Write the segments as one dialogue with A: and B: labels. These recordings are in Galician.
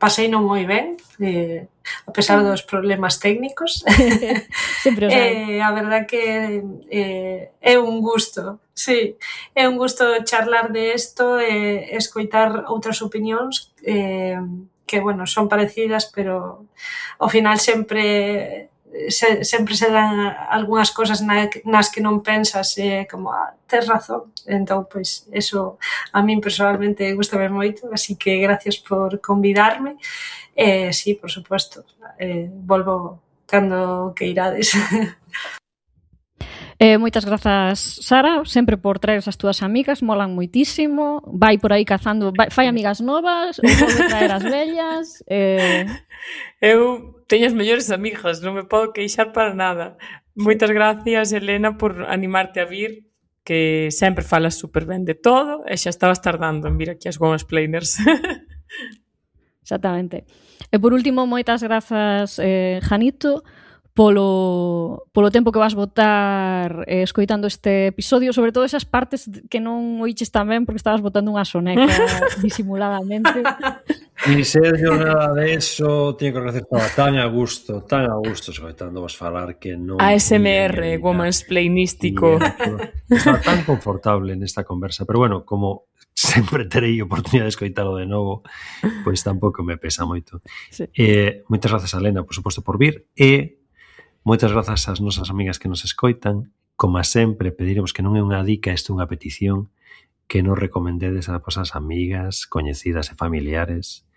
A: pasei non moi ben, a pesar dos problemas técnicos.
B: Sempre os hai.
A: A verdad que é un gusto, sí, é un gusto charlar de isto e escoitar outras opinións que, bueno, son parecidas, pero ao final sempre se dan algunhas cosas nas que non pensas como, tes razón. Entón, pois, eso a min personalmente gustame moito, así que gracias por convidarme. Sí, por suposto, volvo cando que irades.
B: Moitas grazas, Sara, sempre por traer as túas amigas, molan moitísimo. Vai por aí cazando, fai amigas novas, ou volve traer as vellas.
C: Eu teño as mellores amigas, non me podo queixar para nada. Moitas gracias, Elena, por animarte a vir, que sempre falas super ben de todo, e xa estabas tardando en vir aquí ás Womansplainers.
B: Exactamente. E por último, moitas grazas, Janito, polo tempo que vas botar escoitando este episodio, sobre todo esas partes que non oiches tamén porque estabas botando unha soneca disimuladamente.
D: Ni sei yo nada de eso, teño que agradecer, estaba tan a gusto escoitando vos falar que non...
C: ASMR, womansplainístico.
D: Estaba tan confortable nesta conversa, pero bueno, como sempre terei oportunidade de escoitalo de novo, pois tampouco me pesa moito.
B: Sí.
D: Moitas grazas a Elena, por suposto, por vir, e moitas grazas ás nosas amigas que nos escoitan. Como sempre, pediremos que non é unha dica, isto é unha petición, que nos recomendedes a vosas amigas, coñecidas e familiares,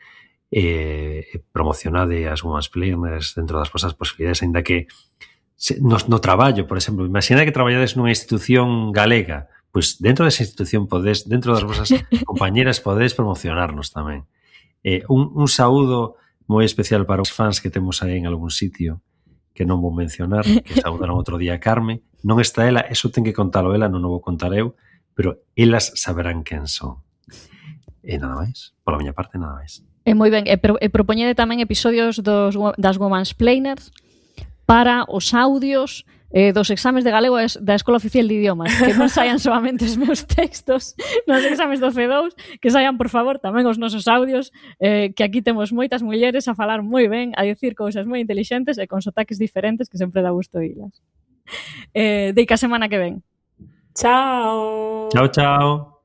D: promocionade as Womansplainers dentro das vosas posibilidades, ainda que no traballo, por exemplo, imagina que traballades nunha institución galega, pois dentro desa institución podes, dentro das vosas compañeras podedes promocionarnos tamén. Un saúdo moi especial para os fans que temos aí en algún sitio, que non vou mencionar, que saudaron outro día a Carme. Non está ela, eso ten que contalo ela, non o vou contar eu, pero elas saberán quen son. E nada máis, pola miña parte nada máis.
B: Moi ben, e propoñede tamén episodios das Womansplainers para os audios dos exames de galego da Escola Oficial de Idiomas, que non saian solamente os meus textos nos exames do C2, que saian, por favor, tamén os nosos audios, que aquí temos moitas mulleres a falar moi ben, a dicir cousas moi intelixentes e con sotaques diferentes que sempre dá gusto oílas. Deica semana que ven.
C: Chao.
D: Chao, chao.